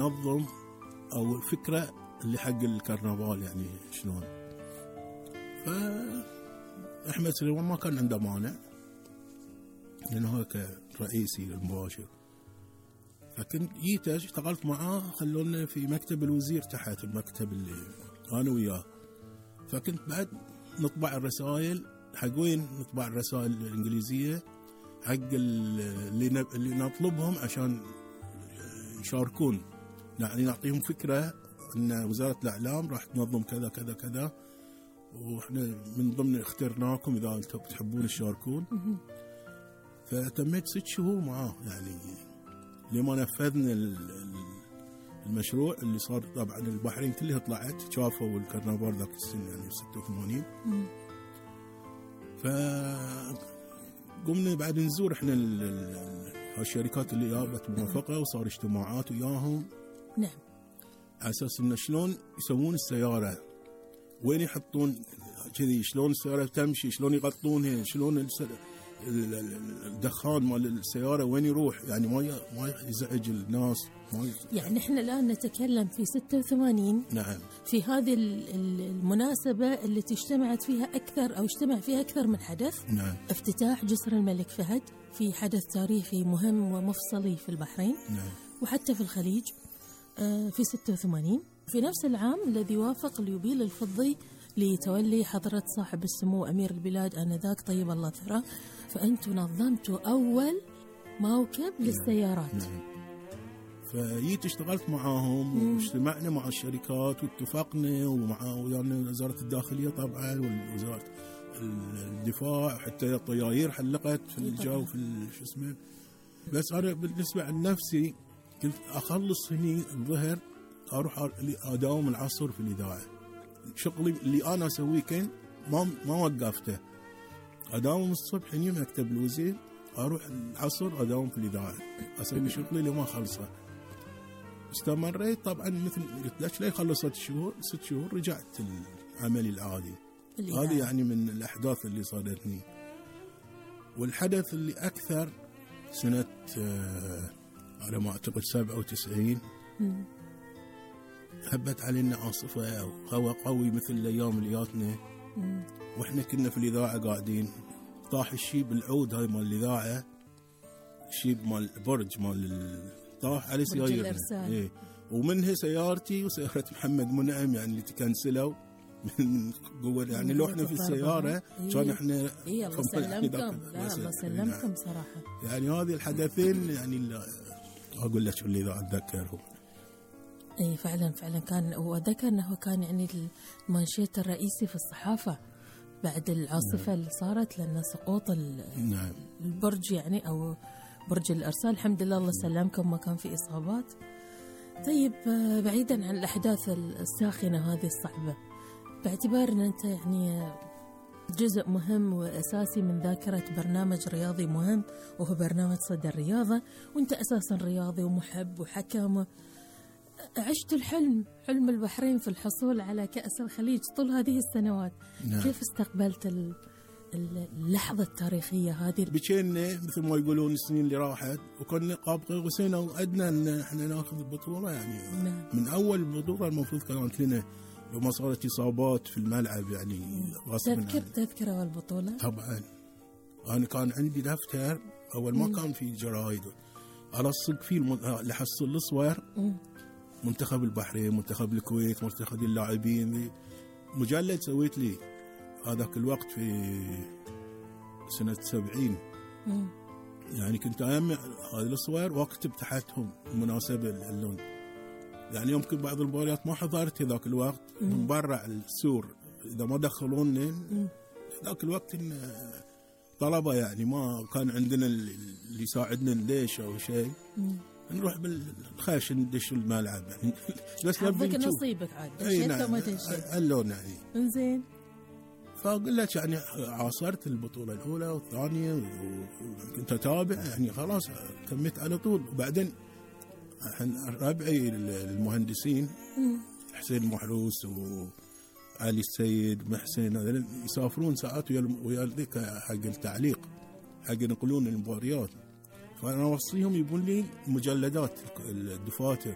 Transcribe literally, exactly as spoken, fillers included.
نظم أو الفكرة اللي حق الكرنفال يعني شلون. فأحمد سليمان ما كان عنده مانع لأنه هو كرئيسي المباشر. فكنت جيت اشتغلت معاه، خلونا في مكتب الوزير تحت المكتب اللي أنا وياه. فكنت بعد نطبع الرسائل حق وين؟ نطبع الرسائل الإنجليزية حق اللي اللي نطلبهم عشان يشاركون، يعني نعطيهم فكرة أن وزارة الإعلام راح تنظم كذا كذا كذا، وإحنا من ضمن اخترناكم إذا أنتم تحبون تشاركون. فتميت ست شهور معاه يعني لما نفذنا المشروع اللي صار. طبعا البحرين كلها طلعت شافوا الكرنفال ذاك السنة يعني ستة وثمانين. فقمنا بعد نزور احنا الشركات اللي جابت موافقة وصار اجتماعات وياهم. نعم. على اساس انه شلون يسوون السيارة، وين يحطون كذي، شلون السيارة تمشي، شلون يغطونها، شلون الدخان مال السيارة وين يروح، يعني ما ما يزعج الناس. ما يعني احنا الآن نتكلم في ستة وثمانين. نعم. في هذه المناسبة اللي تجتمعت فيها أكثر أو اجتمع فيها أكثر من حدث. نعم. افتتاح جسر الملك فهد في حدث تاريخي مهم ومفصلي في البحرين. نعم. وحتى في الخليج في ستة وثمانين. في نفس العام الذي وافق اليوبيل الفضي لتولي حضرة صاحب السمو أمير البلاد آنذاك طيب الله ثراه، فأنتم نظمتوا أول موكب للسيارات. نعم. فجيت اشتغلت معاهم واجتمعنا مع الشركات واتفقنا، ومع ويانا وزارة الداخلية طبعا ووزارة الدفاع، حتى الطياير حلقت في الجو في شو اسمه. بس أنا بالنسبة عن نفسي كنت أخلص هني الظهر أروح أداوم العصر في الإذاعة. شغلي اللي أنا أسويه كان ما ما وقفته، أداوم الصبح هني مكتب الوزير، أروح العصر أداوم في الإذاعة أسوي شغلي لما خلصه. استمريت طبعا مثل قلت لك لي خلصت شهور ست شهور رجعت العملي العادي. هذه يعني من الأحداث اللي صادتني. والحدث اللي أكثر سنة آه على ما أعتقد سبعة وتسعين هبت علينا عاصفة وهواء قوي مثل الأيام اللي جاتنا، وإحنا كنا في الإذاعة قاعدين، طاح الشيب العود هاي مال الإذاعة، الشيب مال برج مال طاح على سيارتنا. إيه. ومنها سيارتي وسيارة محمد منعم يعني اللي تكنسلوا من قوة، يعني لو احنا في السيارة كان احنا إيه الله سلمكم. لا الله سلمكم صراحة. يعني هذه الحدثين يعني اللي أقول لك اللي إذا أتذكرهم. اي فعلا فعلا كان، وذكر انه كان يعني المانشيت الرئيسي في الصحافة بعد العاصفة. نعم. اللي صارت لنا سقوط نعم. البرج يعني او برج الارسال. الحمد لله الله سلمكم ما كان في اصابات. طيب بعيدا عن الاحداث الساخنة هذه الصعبة، باعتبار ان انت يعني جزء مهم واساسي من ذاكرة برنامج رياضي مهم وهو برنامج صدى الرياضة، وانت اساسا رياضي ومحب وحكم، عشت الحلم حلم البحرين في الحصول على كأس الخليج طول هذه السنوات. نعم. كيف استقبلت اللحظة التاريخية هذه؟ بكينا مثل ما يقولون السنين اللي راحت، وكنا قاب قوسين وأدنى أن احنا ناخذ البطولة يعني. نعم. من أول بطولة المفروض كانت لنا لو ما صارت إصابات في الملعب يعني. تذكر تذكر أول بطولة؟ طبعا أنا كان عندي دفتر أول ما كان في جرايد ألصق فيه اللي حصل الصور، منتخب البحرين، منتخب الكويت، منتخب اللاعبين، مجلد سويت لي هذاك الوقت في سنة سبعين. مم. يعني كنت أجمع هذه الصور واكتب تحتهم المناسبة اللون. يعني يمكن بعض المباريات ما حضرت ذاك الوقت. مم. من برا السور إذا ما دخلوني ذاك الوقت طلبة يعني ما كان عندنا اللي يساعدنا ليش أو شيء. مم. نروح بالخاش ندش الملعب يعني بس حظك نصيبك عاد دشيت وما دشيت اللون يعني. انزين. فأقول لك يعني عاصرت البطولة الأولى والثانية وكنت أتابع يعني خلاص كملت على طول. وبعدين ربعي المهندسين حسين محروس وعلي السيد محسن هذول يسافرون ساعات ويا ذيك حق التعليق حق ينقلون المباريات، فأنا أوصيهم يبون لي مجلدات الدفاتر